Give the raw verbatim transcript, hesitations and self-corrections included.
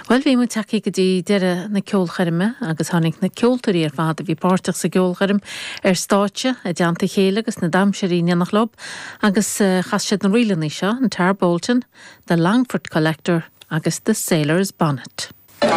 Well bhí muid tagtha go dtí deireadh na ceolchoirme agus tháinig na ceoltóirí ar fad a bhí páirteach sa gceolchoirm ar stáitse i dteannta a chéile agus na damhsóirí in éineacht leo agus uh, chas siad na ríleanna seo an Tarbolton, the Longford Collector agus the Sailor's Bonnet.